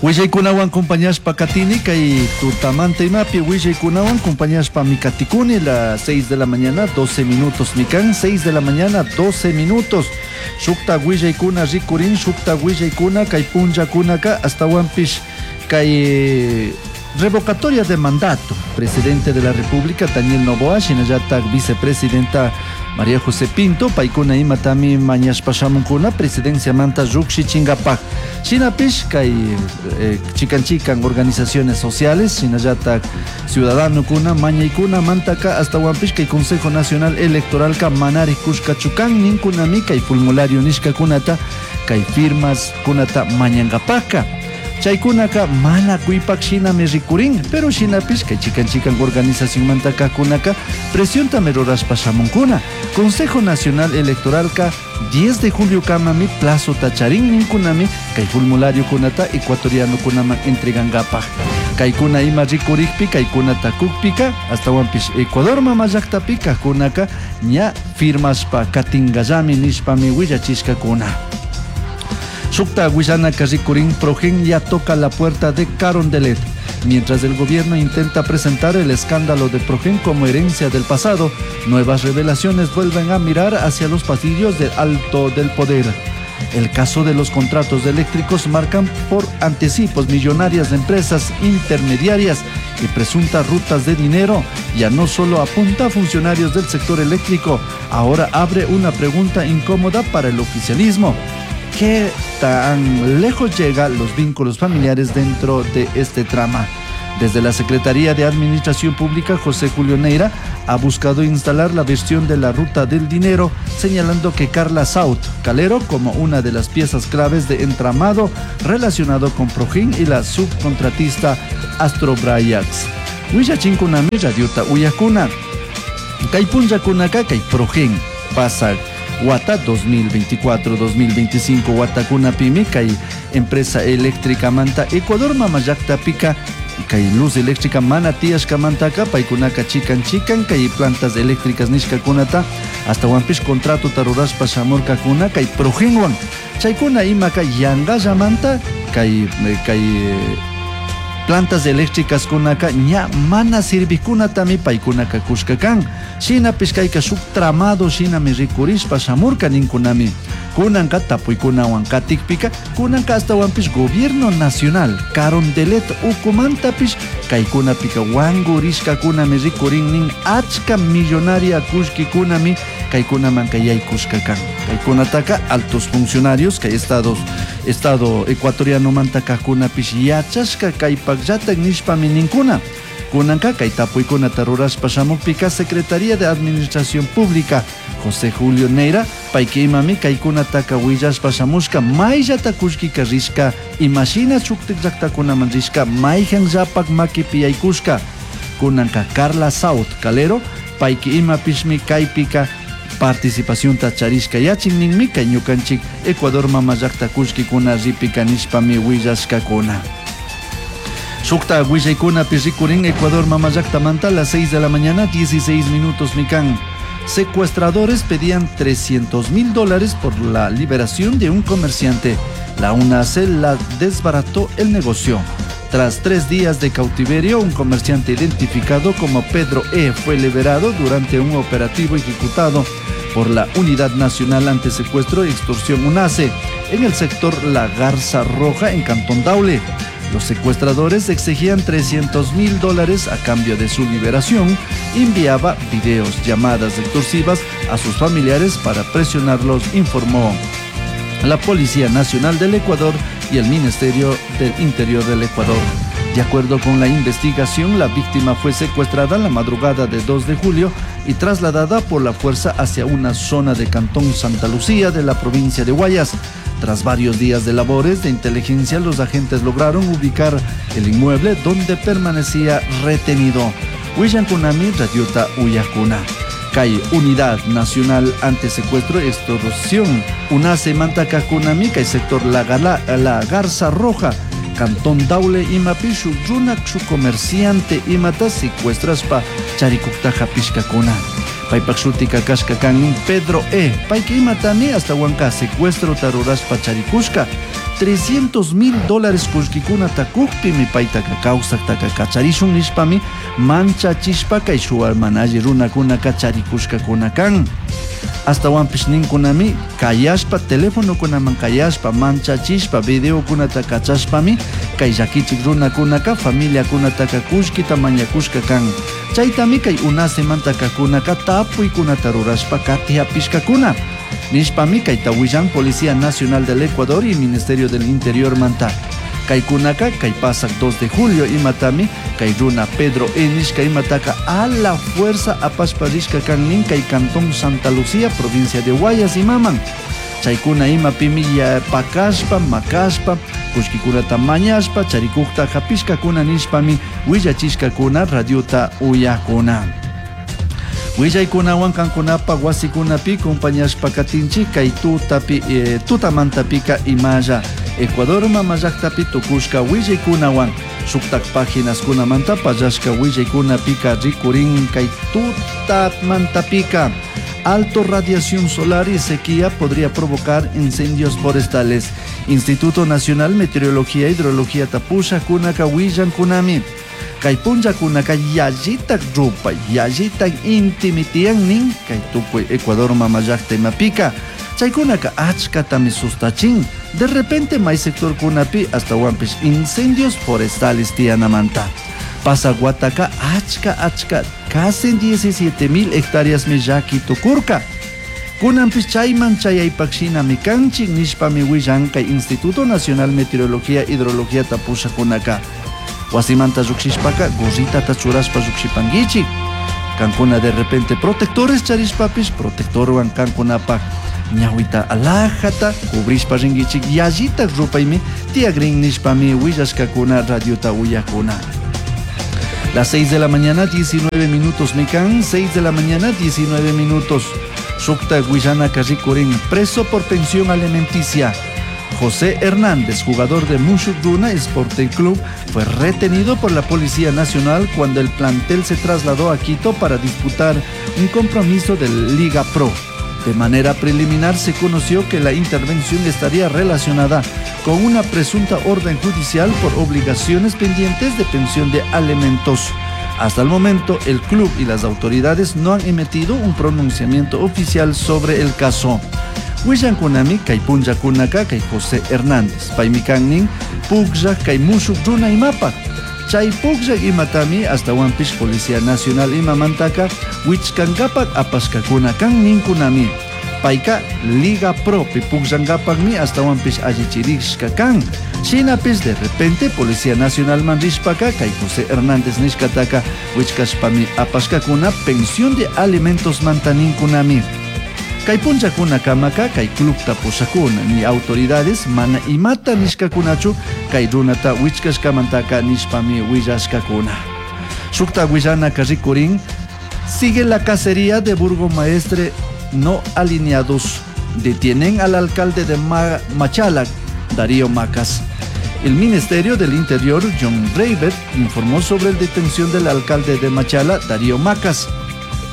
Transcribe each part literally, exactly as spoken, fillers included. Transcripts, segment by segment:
Willaykunawan compañashpa katini kay tutamanta imapi willaykunawan compañashpa katikuni las seis de la mañana doce minutos mikan seis de la mañana doce minutos shukta willaykuna rikurin shukta willaykuna kay punllakunaka astawanpish kay revocatoria de mandato presidente de la República Daniel Noboa shinallatak vicepresidenta María José Pinto paykuna imatami mañashpa shamunkuna presidenciamanta llukshichinkapaj shinapish kay eh, chikan chikan organizaciones sociales shinallatak ciudadanokuna mañaykuna mantaka astawanpish kay Consejo Nacional Electoralka manari kushkachu kan ninkunami kay formulario nishkakunata kay firmas kunata mañankapajka chaykunaka mana kuypak shinami rikurin pero shinapish kay chikan chikan organizacionmanta kajkunaka presiontami rurashpa shamunkuna Consejo Nacional Electoralka diez de julio kamami plazo charin ninkunami kay formulario kunata ecuatoriano kunaman entregankapaj kaykuna ima rikurikpi kaykunata kukpika astawanpish Ecuador mama llaktapi kajkunaka ña firmashpa katinkallami nishpami willachishkakuna. Shukta willanaka rikurin Progen ya toca la puerta de Carondelet. Mientras el gobierno intenta presentar el escándalo de Progen como herencia del pasado, nuevas revelaciones vuelven a mirar hacia los pasillos del alto del poder. El caso de los contratos eléctricos marcan por anticipos millonarias de empresas intermediarias y presuntas rutas de dinero. Ya no solo apunta a funcionarios del sector eléctrico, ahora abre una pregunta incómoda para el oficialismo. ¿Qué tan lejos llegan los vínculos familiares dentro de este trama? Desde la Secretaría de Administración Pública, José Julio Neira ha buscado instalar la versión de la ruta del dinero, señalando que Carla Saut Calero como una de las piezas claves de entramado relacionado con Progen y la subcontratista Astrobrayax. Willachinkunami radiota uyakuna. Kay punllakunaka kay Progen pasa wata dos mil veinticuatro dos mil veinticinco watakunapimi kay empresa eléctrica manta Ecuador mama llaktapika kay luz eléctrica mana tiyashkamantaka paykunaka chikan chikan kay plantas eléctricas nishkakunata astawanpish contratota rurashpa shamurkakuna kay Progenwan chaykuna imaka yangallamanta kay, kay plantas eléctricas kunaka ña mana sirvikunatami paykunaka kushka kan shinapish kayka shuk tramado shinami rikurishpa shamurka ninkunami kunanka tapuykunawan katikpika kunanka astawanpish gobierno nacional Carondelet ukumantapish kaykunapika wankurishkakunami rikurin nin achka millonaria kushkikunami kaykunamanka yaykushka kan kaykunataka altos funcionarios kay estados estado ecuatoriano manta kajkunapish yachashka kaypakllatak nishpami ninkuna kunanka kay tapuykunata rurashpa shamukpika Secretaría de Administración Pública José Julio Neira payka imami kaykunataka willashpa shamushka mayllata kullkika rishka imashina shuktik llaktakunaman rishka mayjan llapak makipi yaykushka kunanka Carla Saut Calero payka imapishmi kaypika participacionta charishka yachin ninmi kay ñukanchik Ecuador mama llakta kullkikuna ripika nishpami willashkakuna. Shukta willaykunapi rikurin Ecuador mama llaktamanta a las seis de la mañana dieciséis minutos mikan. Secuestradores pedían trescientos mil dólares por la liberación de un comerciante. La UNACE la desbarató el negocio. Tras tres días de cautiverio, un comerciante identificado como Pedro E. fue liberado durante un operativo ejecutado por la Unidad Nacional Antisecuestro y Extorsión UNACE en el sector La Garza Roja en Cantón Daule. Los secuestradores exigían trescientos mil dólares a cambio de su liberación. Enviaba videos, llamadas extorsivas a sus familiares para presionarlos, informó la Policía Nacional del Ecuador y el Ministerio del Interior del Ecuador. De acuerdo con la investigación, la víctima fue secuestrada la madrugada de dos de julio y trasladada por la fuerza hacia una zona de Cantón Santa Lucía de la provincia de Guayas. Tras varios días de labores de inteligencia, los agentes lograron ubicar el inmueble donde permanecía retenido. Willankunami, Radiota Uyakuna. Kay Unidad Nacional Antisecuestro y Extorsión, UNACE Mantakakunami, kay sector La, Gala, La Garza Roja, Cantón Daule imapi shuk runa shuk comerciante imata secuestrashpa charikukta hapishkakuna. Paypak shutika kashka kan Pedro E. Payka imatami ashtawanka secuestrota rurashpa charikushka trescientos mil dólares kullkikunata kukpimi paytaka kawsaktaka kacharishun nishpami manchachishpa kay shuwa mana alli runakunaka charikushkakuna kan. Ashtawanpish ninkunami kayashpa telefonokunaman kayashpa manchachishpa videokunata kachashpami kay llakichik runakunaka familiakunataka kullkita mañakushka kan. Chaytami kay unasemantaka kunaka tapuykunata rurashpa kati hapishkakuna. Nishpami kayta willan Policía Nacional del Ecuador y Ministerio del Interior manta. Kaykunaka kay pasak dos de julio imatami kay runa Pedro E. nishka imataka a la fuerza apashpa rishka kan nin kay Cantón Santa Lucía, provincia de Guayas imaman. Chaykuna imapimi ya pakashpa, makashpa, kullkikunata mañashpa, charikukta hapishkakuna nishpami willachishkakuna radiota uyakuna. Willaykunawan kankunapa wasikunapi compañashpa katinchik kay tutapi, eh, tutamantapika imalla Ecuador mama llaktapi tukushka willaykunawan shuktak páginaskunamanta pallashka willaykunapika rikurin kay tutamantapika. Alto radiación solar y sequía podría provocar incendios forestales. Instituto Nacional Meteorología e Hidrología tapusha kunaka willan kunami. Kay punllakunaka yallitak rupay, yallitak intimitian nin kay tukuy Ecuador mama llakta imapika. Chaykunaka achkatami sustachin. De repente may sector kunapi hasta wanpish incendios forestales tiyanamanta. Pasaguataka achka achka casi diecisiete mil hectáreas mi llaki tukurka. Kunanpish chayman chayaypaqshinami kanchik nishpami willan kay Instituto Nacional Meteorología e Hidrología tapushakunaka. Wasimanta lluqshishpaka gorritata churashpa lluqshipankichik. Kankuna de repente protectores charishpapis protectorwan kankunapaq ñawita alajata cubrishpa rinkichik yallita rupaymi tiyagrin nishpami willashkakuna radiota uyakuna. Las seis de la mañana, diecinueve minutos, mikan, seis de la mañana, diecinueve minutos. Shukta Guillana Karrikurin, preso por pensión alimenticia. José Hernández, jugador de Mushuk Runa Sporting Club, fue retenido por la Policía Nacional cuando el plantel se trasladó a Quito para disputar un compromiso de Liga Pro. De manera preliminar se conoció que la intervención estaría relacionada con una presunta orden judicial por obligaciones pendientes de pensión de alimentos. Hasta el momento, el club y las autoridades no han emitido un pronunciamiento oficial sobre el caso. Willan kunami kay punlla kunaka kay José Hernández. Paymi kannin puklla kay mushuk runa imapak. Chay puklla imatami hasta wanpish Policía Nacional imamantaka wichkankapak apashkakuna kan ninkunami. Payka Liga Pro pi pukllankapakmi hasta wanpish allichirishka kan. Shinapis de repente Policía Nacional man rishpaka kay José Hernández nishkataka wichkashpami apashkakuna pensión de alimentos mantaninkunami. Kay punllakuna kamaka kay clubta pushakuna ni autoridades mana imata nishkakunachu kay runata wichkashkamantaka nishpami willashkakuna. Shukta willana karrikurin sigue la cacería de burgomaestre no alineados. Detienen al alcalde de Ma-, Machala, Darío Macas. El Ministerio del Interior, John Rayber, informó sobre la detención del alcalde de Machala, Darío Macas.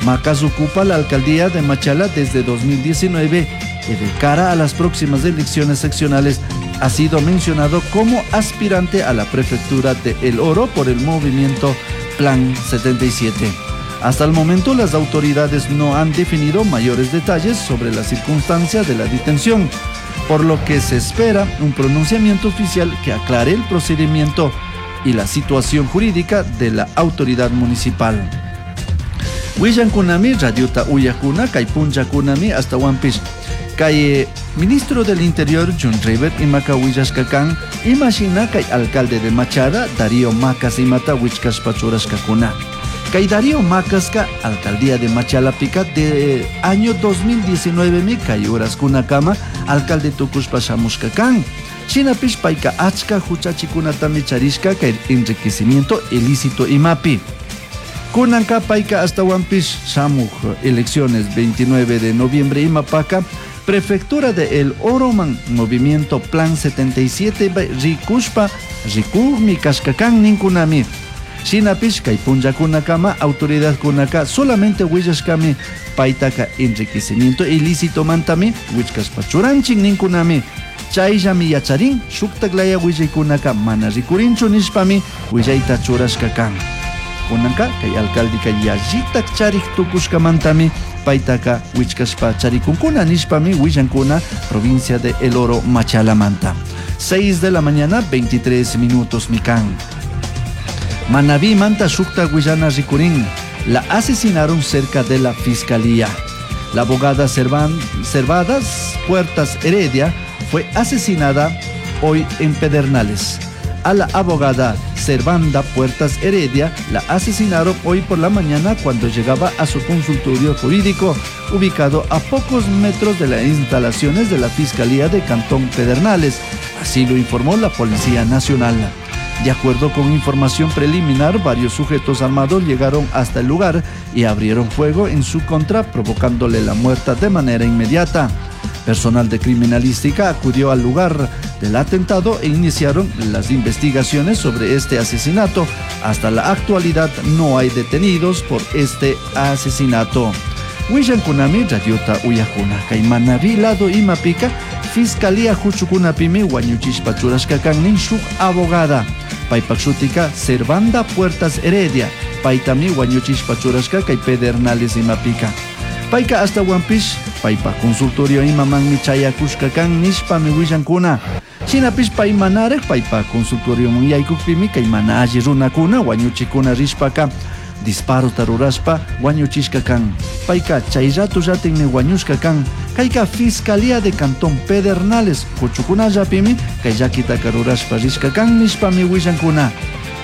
Macas ocupa la alcaldía de Machala desde dos mil diecinueve y de cara a las próximas elecciones seccionales ha sido mencionado como aspirante a la prefectura de El Oro por el movimiento Plan setenta y siete. Hasta el momento las autoridades no han definido mayores detalles sobre las circunstancias de la detención, por lo que se espera un pronunciamiento oficial que aclare el procedimiento y la situación jurídica de la autoridad municipal. Willan kunami, radiota uyakuna, kay punlla kunami, hasta wanpish. Kay ministro del Interior, John River, imaka willashkakan, imashina kay alcalde de Machala, Darío Macas imata wichkashpa churashkakuna. Kay Darío Macaska, alcaldía de Machala pica de año dos mil diecinueve mi kay uraskuna kama, alcalde tukushpa shamushkakan. Shinapish payka achka huchachikunatami charishka kay enriquecimiento ilícito imapi. Kunanka payka hasta wanpish shamuj elecciones veintinueve de noviembre imapaka Prefectura de El Oroman Movimiento Plan setenta y siete rikushpa rikukmi kashka kan ninkunami. Shinapish kay punllakunakama autoridadkunaka solamente willashkami paytaka enriquecimiento ilícito mantami wichkashpa churanchik ninkunami. Chayllami yacharin shuktaklaya willaykunaka mana rikurinchu nishpami willayta churashka kan. Kunanka kay alcaldeka yallitak charik tukushkamantami paytaka wichkashpa charikunkuna nishpami willankuna provincia de El Oro Machalamanta. seis de la mañana, veintitrés minutos mikan. Manabí manta shukta willana rikurin. La asesinaron cerca de la fiscalía. La abogada Servan, Servadas Puertas Heredia fue asesinada hoy en Pedernales. A la abogada Servanda Puertas Heredia la asesinaron hoy por la mañana cuando llegaba a su consultorio jurídico, ubicado a pocos metros de las instalaciones de la Fiscalía de Cantón Pedernales. Así lo informó la Policía Nacional. De acuerdo con información preliminar, varios sujetos armados llegaron hasta el lugar y abrieron fuego en su contra, provocándole la muerte de manera inmediata. Personal de criminalística acudió al lugar del atentado e iniciaron las investigaciones sobre este asesinato. Hasta la actualidad no hay detenidos por este asesinato. Willankunami radiota uyakuna kay Manabí lado imapika Fiscalía huchukunapimi wañuchishpa churashka kan nin shuk abogada. Paypak shutika Servanda Puertas Heredia. Paytami wañuchishpa churashka kay Pedernales imapika. Payka hasta Huampish, paypa consultorio imamanmi chayakushka kan nishpami willankuna. Shinapish pay manarek paypa consultorio munyaykukpimi kay mana alli runakuna wañuchikuna rishpaka disparo tarurashpa wañuchishka kan. Payka chay rato ratinmi wañushka kan. Kayka Fiscalía de Cantón Pedernales huchukunallapimi kay llakitaka rurashpa rishka kan nishpami willankuna.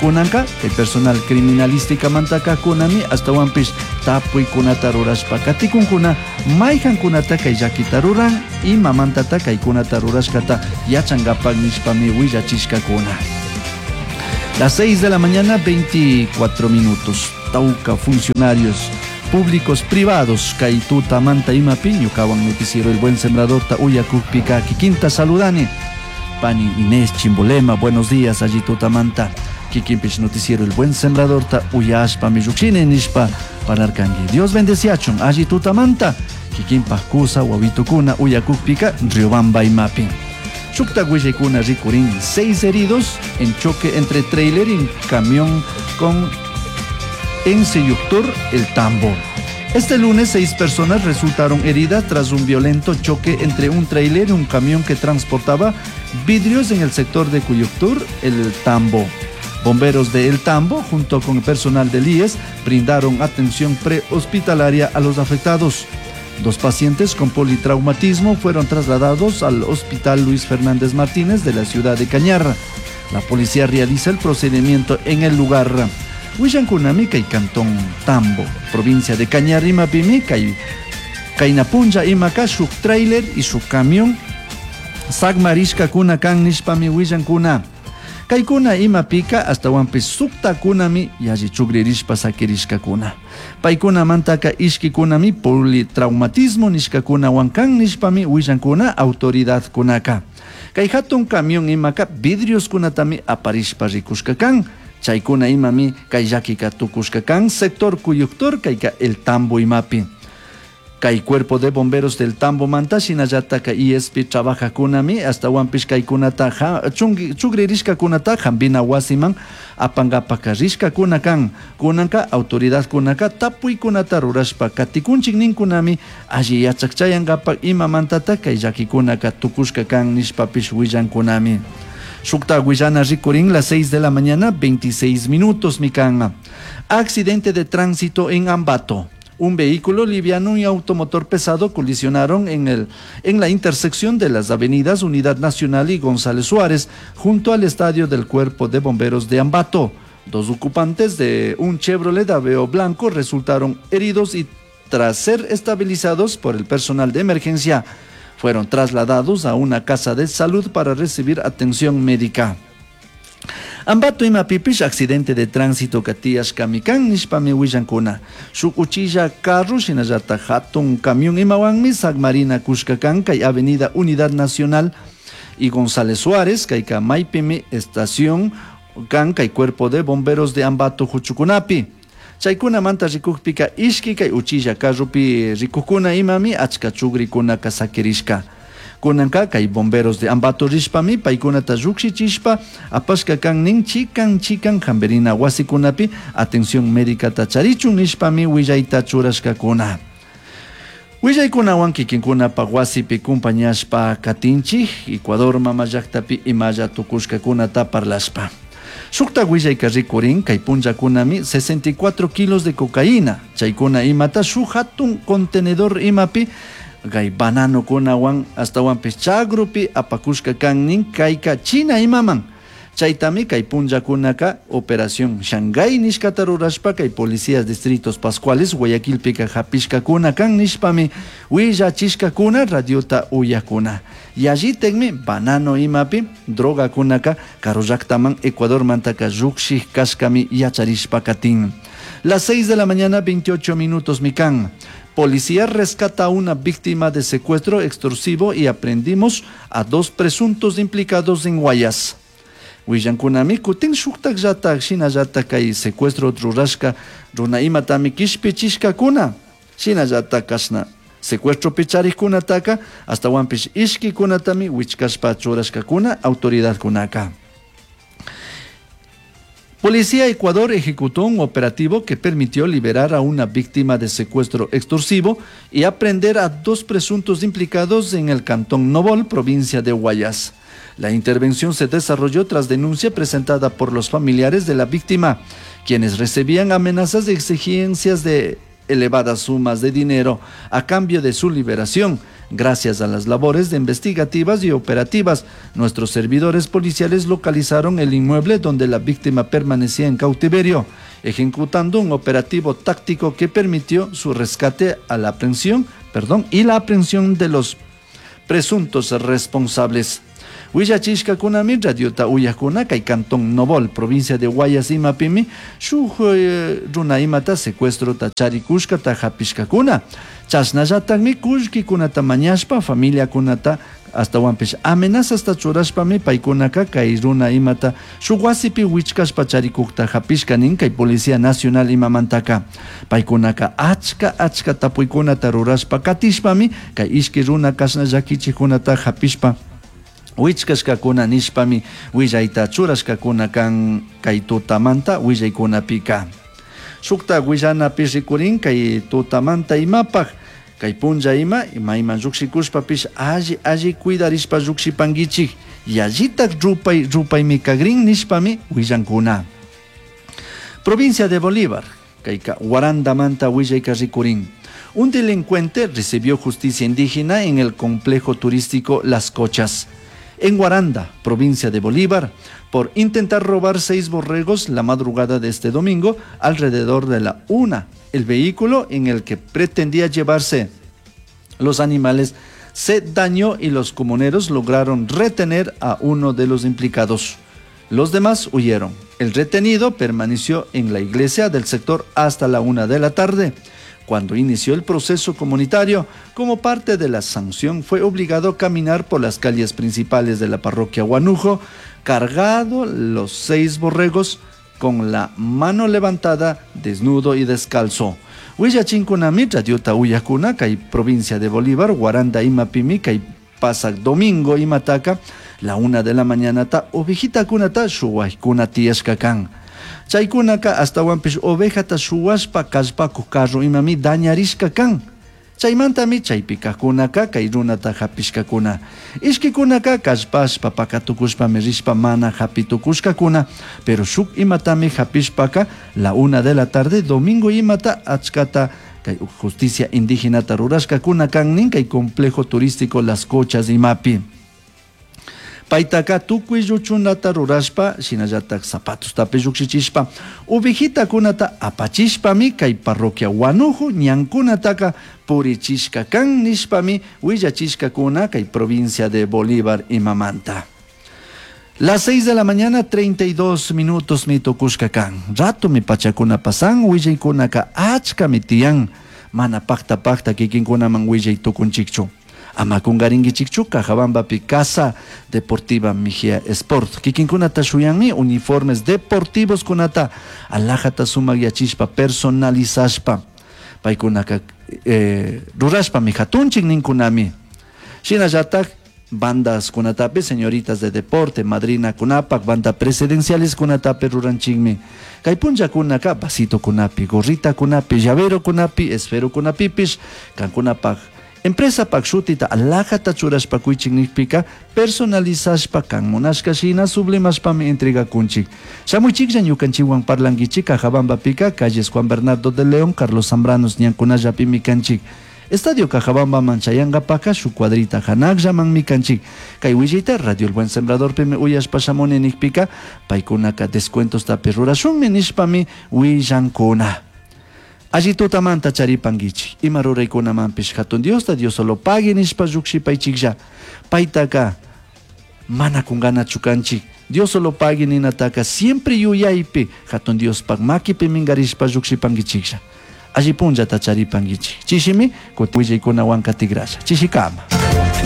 Kunanka kay personal criminalística mantaka kunami astawanpish tapuykunata rurashpa katikunkuna mayhankunata kay llakita ruran imamantata kaykunata rurashkata yachankapak nishpami willachishkakuna. Las seis de la mañana, veinticuatro minutos. Tauca, funcionarios públicos privados, kay tuta manta imapi, ñukawan noticiero El Buen Sembrador ta uyakukpika kikinta saludani. Pani Inés Chimbolema, buenos días, allí tutamanta. Kikinpish noticiero El Buen Sembrador ta uyashpa miyukshine nishpa pararkangi. Dios bendeciachun, allí tutamanta. Kikinpa kusa wawitukuna uyakukpika Riobamba imapi. Shukta willaykuna rikurin, seis heridos en choque entre trailer y camión con Enseyuctor El Tambo. Este lunes, seis personas resultaron heridas tras un violento choque entre un trailer y un camión que transportaba vidrios en el sector de Cuyuctur, El Tambo. Bomberos de El Tambo, junto con el personal del I E S, brindaron atención prehospitalaria a los afectados. Dos pacientes con politraumatismo fueron trasladados al Hospital Luis Fernández Martínez de la ciudad de Cañar. La policía realiza el procedimiento en el lugar. Willankunami kay Cantón Tambo, provincia de Cañar, imapimi kay Kaynapunlla imaka shuk trailer y su camión sagmarishkakuna kan nishpami willankuna. Kaykuna imapika astawanpis suktakunami yalli chukririshpa sakirishkakuna. Paykunamantaka ishkikunami politraumatismo nishkakunawan kan nishpami willankuna autoridadkunaka. Kay hatun camión imaka vidrioskunatami aparishpa rikushka kan. Chaykuna imami kay llakika tukushka kan sector Cuyuctor kayka El Tambo imapi. Kay cuerpo de bomberos del Tambo manta shinallataka I S P trabajakunami astawanpish kaykunata ja, chungi, chugririshkakunata hambina wasiman apankapaka rishkakuna kan. Kunanka autoridadkunaka tapuykunata rurashpa katikunchik ninkunami alli yachakchayankapak imamantata kay llakikunaka tukushka kan nishpapish willankunami. Shukta willana rikurin las seis de la mañana, veintiséis minutos, mikan. Accidente de tránsito en Ambato. Un vehículo liviano y automotor pesado colisionaron en el, en la intersección de las avenidas Unidad Nacional y González Suárez, junto al estadio del Cuerpo de Bomberos de Ambato. Dos ocupantes de un Chevrolet Aveo blanco resultaron heridos y, tras ser estabilizados por el personal de emergencia, fueron trasladados a una casa de salud para recibir atención médica. Ambato imapipish accidente de tránsito tiyashkami kan nishpami willankuna. Shuk uchilla carro shinallatak hatun camión imawanmi sagmarina kushka kan kay Avenida Unidad Nacional y González Suárez kayka maypimi estación kan kay cuerpo de bomberos de Ambato huchukunapi. Chaykunamanta rikukpika ishki kay uchilla carropi rikukuna imami achka chugrikunaka sakirishka. Kunanka kay bomberos de Ambato rishpami paykunata llukshichishpa apashka kan nin chikan chikan hamperina wasikunapi atención médica charichun nishpami willayta churashkakuna. Willaykunawan kikinkunapa wasipi kumpañashpa katinchik Ecuador mama llaktapi imalla tukushkakunata parlashpa. Shukta willayka rikurin kay punllakunami sesenta y cuatro kilos de cocaína chaykuna imata shuk hatun contenedor imapi kay banano kunawan astawanpis chagrupi apakushka kannin kayka China imaman. Chaytami kay punllakunaka Operación Shanghái nishkata rurashpa kay policías distritos Pascuales Guayaquilpika hapishkakuna kan nishpami willachishkakuna radiota uyakuna. Yallitekmi banano imapi drogakunaka karu llaktaman Ecuadormantaka llukshik kashkami yacharishpa katin. Las seis de la mañana veintiocho minutos mikan. Policía rescata a una víctima de secuestro extorsivo y aprendimos a dos presuntos implicados en Guayas. Willankunami kutin shuktak llatak shinallatak kay secuestro rurashka runa imatami kishpichishkakuna shinallatak kashna secuestro picharikkunataka astawanpish ishkikunatami wichkashpa churashkakuna autoridadkunaka. Policía Ecuador ejecutó un operativo que permitió liberar a una víctima de secuestro extorsivo y aprehender a dos presuntos implicados en el cantón Nobol, provincia de Guayas. La intervención se desarrolló tras denuncia presentada por los familiares de la víctima, quienes recibían amenazas de exigencias de elevadas sumas de dinero a cambio de su liberación. Gracias a las labores de investigativas y operativas, nuestros servidores policiales localizaron el inmueble donde la víctima permanecía en cautiverio, ejecutando un operativo táctico que permitió su rescate a la aprehensión, perdón, y la aprehensión de los presuntos responsables. Willachishkakunami radiota uyakuna kay cantón Nobol, provincia de Guayas imapimi, shuk runa imata secuestro ta charikushka ta hapishkakuna. Chashnallatami kullkikunata mañashpa familiakunata astawanpish amenazasta churashpami paykunaka kay runa imata shuk wasipi wichkashpa charikukta hapishka nin kay Policía Nacional imamantaka. Paykunaka achka achka tapuykunata rurashpa katishpami kay ishki runa kashna llakichikkunata hapishpa wichkashkakuna nishpami willayta churashkakuna kan kay tutamanta willaykunapika. Shukta willanapi rikurin kay tutamanta imapaj kay punlla ima imayman llukshikushpapish alli alli cuidarishpa llukshipankichik yallitak rupay rupaymi kagrin nishpami willankuna. Provincia de Bolívar kayka Guarandamanta willayka rikurin. Un delincuente recibió justicia indígena en el complejo turístico Las Cochas, en Guaranda, provincia de Bolívar, por intentar robar seis borregos la madrugada de este domingo alrededor de la una. El vehículo en el que pretendía llevarse los animales se dañó y los comuneros lograron retener a uno de los implicados. Los demás huyeron. El retenido permaneció en la iglesia del sector hasta la una de la tarde. Cuando inició el proceso comunitario, como parte de la sanción, fue obligado a caminar por las calles principales de la parroquia Guanujo, cargado los seis borregos, con la mano levantada, desnudo y descalzo. Huillachinkunami, radiota uyakuna, kay provincia de Bolívar, Guaranda imapimi, kay pasak domingo imataka, la una de la mañana ta ovejita kunata shuwaykuna tiyashkakan. Chaykunaka astawanpish ovejata shuwashpa kallpakuq carro imami dañarishka kan. Chaymantami chaypikakunaka kay runata hapishkakuna. Ishkikunaka kallpashpa pakatukushpami rishpa mana hapitukushkakuna, pero shuk imatami hapishpaka la una de la tarde domingo imata achkata kay justicia indígenata rurashkakuna kan nin kay complejo turístico Las Cochas imapi. Paytaka tukuy lluchunata rurashpa shinallatak zapatostapi llukshichishpa ovejitakunata apachishpami kay parroquia Guanujo ñankunataka purichishka kan nishpami willachishkakuna kay provincia de Bolívar imamanta. Las seis de la mañana, treinta y dos minutos mi tukushka kan. Ratomi pachakuna pasan, willaykunaka achkami tiyan. Mana pakta pakta kikinkunaman willay tukunchikchu. Ama kungarinkichikchu, Cajabambapi Casa Deportiva Mejía Sport. Kikinkunata shuyanmi uniformes deportivos kunata alajata sumakyachishpa personalizashpa. Paykunaka, eh, rurashpami hatunchik ninkunami. Shinallatak bandas kunatapi, señoritas de deporte, madrina kunapak, banda presidenciales kunatapi ruranchikmi. Kay punllakunaka vasito kunapi, gorrita kunapi, llavero kunapi, esfero kunapipish, kankunapak empresa pak shutita alajata churashpa kuychik nikpika personalizashpa kan munashka shina sublimashpami entregakunchik. Shamuychiklla ñukanchikwan parlankichik Cajabambapika, calles Juan Bernardo de León, Carlos Zambranos ñankunallapimi kanchik. Estadio Cajabambaman chayangapaka shuk cuadrita hanakllamanmi kanchik. Kay willayta Radio El Buen Sembradorpimi uyashpa shamuni nikpika paykunaka descuentostapi rurashunmi nishpami willankuna. Alli tutamanta charipankichik. Ima ruraykunamanpish hatun Diosta, Dios solo pague nishpa llukshipaychiklla. Paytaka mana kunganachu kanchik. Dios solo pague ninataka siempre yuyaypi hatun Diospak makipi minkarishpa llukshipankichiklla. Alli punllata charipankichik. Chishimi kutin willaykunawan katigrasha. Chishikama.